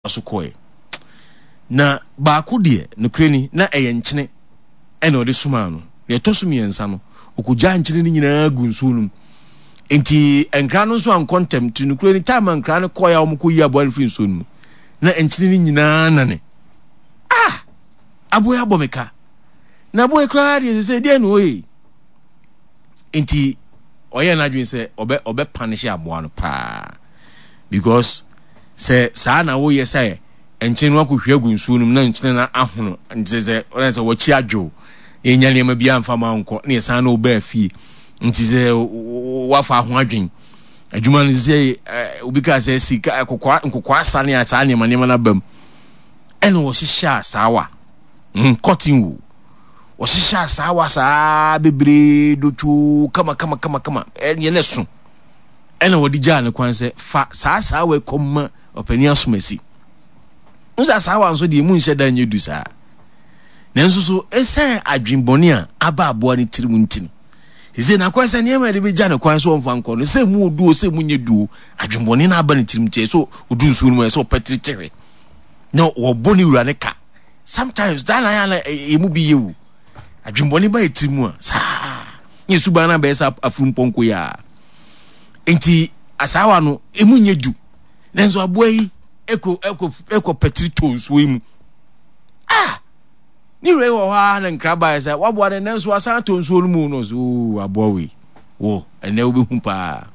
so kɔe. Na baako deɛ, nokorɛ ni, na ɛyɛ nkyene ɛna ɔde somaa no. Deɛ ɛtɔ so mmiɛnsa no, ɔkɔgyaa nkyene no nyinaa gu nsuo no mu. Nti nkra no nso ankɔ ntɛm. Nti nokorɛ ni, time a nkra no kɔeɛ a wɔkɔyi aboa no firi nsuo no mu, na nkyene no nyinaa nane. Ah! Aboa yi abɔ me ka. Na aboa yi koraa deɛ sɛ deɛ na ɔyɛ yi. Nti ɔyɛ n'adwene sɛ ɔbɛ ɔbɛ punish aboa no paa because sɛ saa na woyɛ sɛ nkyene no akɔhwie agu nsuo no mu na nkyene no ahono nti sɛ ɔna sɛ wɔkyi adwo yɛnya nneɛma bi amfa ma nkɔ na yɛsan na ɔbaa fie nti sɛ wafa ho adwen adwuma no sɛ obi kaa sɛ sika nkokɔ nkokɔ asa ne saa nneɛma nneɛma no aba mu ɛna wɔhyehyɛ asaawa cotton wool wɔhyehyɛ asaawa saa bebree dotwoo kama kama kama kama ɛneɛ na ɛso ɛna wɔde gyaa ne kwan sɛ fa saa asaawa kɔma ɔpanin asomasi n sɛ asaawa nso deɛ mu nhyɛ da nyɛ du saa nanso so ɛsiane adwenbɔne a aba aboa no tirim nti no sɛ n'akwan sɛ nneɛma yɛde bɛgya ne kwan so ɔmfa nkɔ no sɛ mu oduo sɛ mu nyɛ duo adwenbɔne no aba ne tirim nti ɛsɛ odu nsuo no mu ɛsɛ ɔpɛtiri tehwe na wɔbɔ ne wura ne ka sometimes daa na yɛ na emu bi yɛ wu adwembɔne ba yɛ tiri mu a saa ne suban no abɛyɛ sɛ afurumpɔnkɔ yi a nti asaawa no emu nyɛ du nanso aboa yi ɛkɔ ɛkɔ ɛkɔ pɛtiri tɔ nsuo yi mu ah ne wura yi wɔ hɔ a na nkra baeɛ sɛ waboa no nanso asan atɔ nsuo no mu no so oo aboa wei wɔ ɛnɛ wobɛhu paa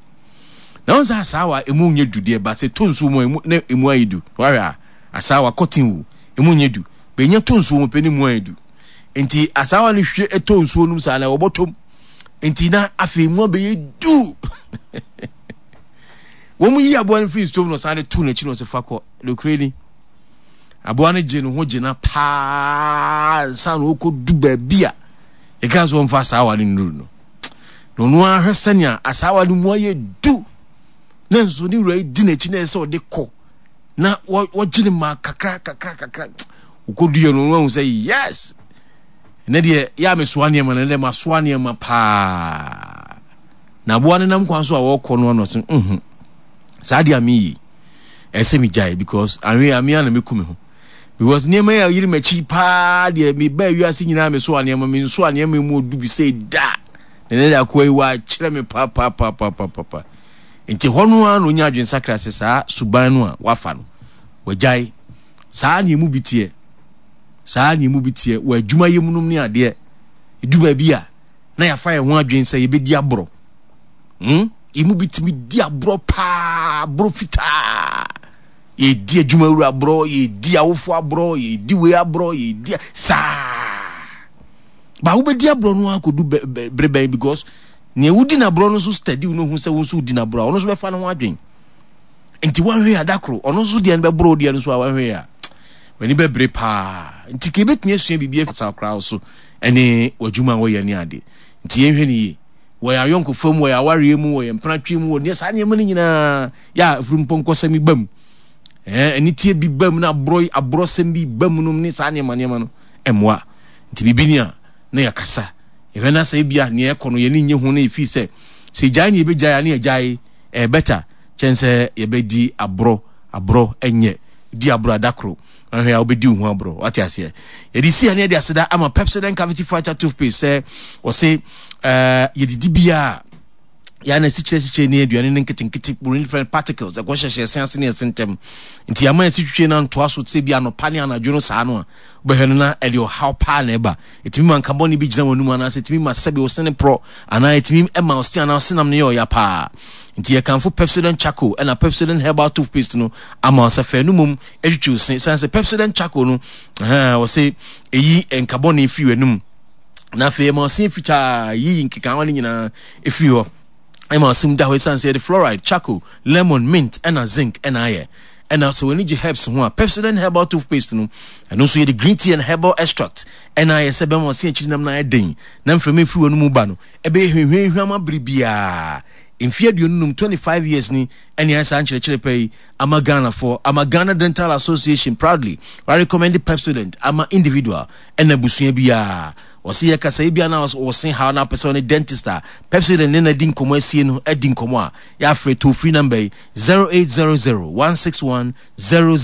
na wɔn sɛ asaawa emu nyɛ du deɛ ba sɛ tɔ nsuo mu a emu na emu ayɛ du wahwɛ a asaawa kɔten wu emu nyɛ du. Benya tɔ nsuo mu pɛ ne mu ayɛ du. Nti asaawa no hwie tɔ nsuo no mu saa na wɔbɔtɔm. Nti na afei mu abɛyɛ du. Wɔn yi aboa no firi nsuo mu na ɔsan de to n'akyi na ɔsɛ fa kɔ. Nokorɛ ni, aboa no gye ne ho gyina paa nsa na ɔkɔ du baabi a yɛka sɛ wɔmfa asaawa no nnuru no. Na ɔno ara hwɛ sɛnea asaawa no mu ayɛ du. Na nso ne wura yi di n'akyi na ɛsɛ ɔde kɔ. Na wɔgye ne ma kakra kakra kakra wokɔduiɛ no wahu sɛ yes ɛnɛ deɛ yɛ a mesoa nneɛma no ɛnɛ masoa nneɛma paa na aboa no nam kwan so a wɔkɔ no ano sɛ nhu saa deɛ a meyi ɛsɛ megyae because anwe a mea na meku me ho because nneɛma yi a yere m'akyi paa deɛ mebaa wiase nyinaa mesoa nneɛma mensoa nneɛma mu odu bi sɛ da na ɛnɛ deɛ akoa yi wɔakyerɛ me papaapapapapa. Enti ɛhɔ no ara na onya adwensakra sɛ saa suban no a wafa no, wagyae. Saa na emu bi teɛ. Saa na emu bi teɛ wɔ adwumayɛ mu nom ne adeɛ. Edu baabi a, na yɛafa yɛn ho adwene sɛ yɛbɛdi aborɔ. Hmm? Emu bi tumi di aborɔ paa, aborɔ fitaa. Yɛdi adwumawura aborɔ, yɛdi awofo aborɔ, yɛdi wei aborɔ, yɛdi saa. Ba wobɛdi aborɔ no akɔdu bere bɛn because Nea wodi n'aborɔ no nso steady no hu sɛ wo nso wodi n'aborɔ a, ɔno nso bɛfa ne ho adwen. Nti wanhwɛ a da koro, ɔno nso deɛ no bɛborɔ deɛ no so a wanhwɛ a, w'ani bɛbere paa. Nti ka ebɛtumi asua biribi afi saa koraa so ɛne w'adwuma a wɔyɛ ne ade. Nti yɛnhwɛ ne yie. Wɔ yɛn ayɔnkofa mu, wɔ yɛn awareɛ mu, wɔ yɛn mpenatwe mu, wɔ nea saa nneɛma no nyinaa yɛ a afurumpɔnkɔsɛm yi ba mu. Ɛɛ aniteɛ bi ba mu na aborɔ aborɔsɛm bi ba mu nom ne saa nneɛma nneɛma no ɛmmoa. Nti biribi ni a na yɛkasa. Yɛhwɛ na sɛ ebia nea ɛkɔ no yɛn ani nnye ho na yɛfii sɛ, sɛ yɛgyae ne yɛbɛgyae a ne yɛgyae, ɛyɛ better kyɛn sɛ yɛbɛdi aborɔ, aborɔ ɛnyɛ, di aborɔ a da koro ahwɛ a wobɛdi wo ho aborɔ, wate aseɛ. Yɛde si ha ne yɛde aseda ama Pepsodent Cavity Fighter Toothpaste sɛ wɔse uh, yɛdidi biara yɛa na asikyire asikyire ne aduane no nketenkete buroni different particles ɛkɔ hyehyɛ ɛse ase ne ɛse ntɛm nti ama ɛsi twitwe no antoa so te sɛ bi anɔpa ne anadwo no saa no a wobɛhwɛ no na ɛde ɔhaw paa na ɛba Ɛtumi ma nka bɔne bi gyina w'anum anaasɛ ɛtumi ma sɛbe wo sene porɔ anaa ɛtumi ma wo se anaa senam no yɛ ɔya paa. Nti yɛkamfo Pepsodent Charcoal ɛna Pepsodent Herbal Toothpaste no ama wo sɛ fa ɛno mmom twitwi wo se. Sane sɛ Pepsodent Charcoal no, ɛhɛn, wɔse ɛyi nka bɔne firi w'anum na afei ɛma wo se fitaa, yiyi nkekaawa no nyinaa ɛfiri hɔ. Ɛma asɛm da hɔ esiane sɛ yɛde fluoride, charcoal, lemon, mint, ɛna zinc ɛna ayɛ. Ɛna sɛ w'ani gye herbs ho a, Pepsodent Herbal Toothpaste no, ɛno nso yɛde green tea and herbal extract ɛna ayɛ sɛ ɛbɛma ɔse akyiri nam no ayɛ den na mframa efiri w'anomu ba no ɛbɛyɛ hwehwɛnhwam abere biara. Mfeɛ 25, 25 years ni ɛne ayɛ saa nkyerɛkyerɛ pa yi ama Ghanafoɔ, ama Ghana Dental Association proudly wa recommend Pepsodent ama individual ɛna abusua biara. Ɔse yɛ kasa ebia na ɔse haw na apɛ sɛ ɔne dentist a Pepsodent ne no adi nkɔmmɔ asie no adi nkɔmmɔ a, yɛafrɛ toll free number yi 0800 161 000.